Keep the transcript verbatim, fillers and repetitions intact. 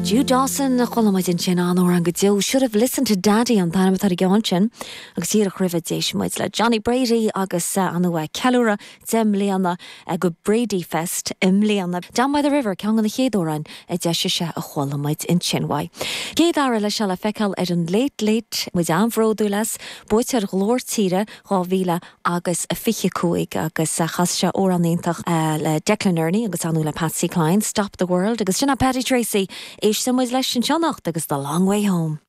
Jude Dawson a chuala muid ansin an-amhrán go deo should have listened to Daddy an t-ainm atá ar an sin agus díreach roimhe d'éist muid le Johnny Brady agus uh, an uh, ceiliúradh deich mbliana uh, go Brady Fest i mbliana. Down by the River ceann de na chéad amhráin a d'eisigh sé a chuala muid ansin uaidh. Céad uair leis le feiceáil ar an Late Late muid an-bhródúil as buaiteoir Ghlór Tíre dhá mhíle agus a fiche cúig agus chas sé amhrán iontach le Declan Nerney agus anú le Patsy Cline, Stop the World agus sin Paddy Tracy éistfidh muid leis an seannacht agus the long way home.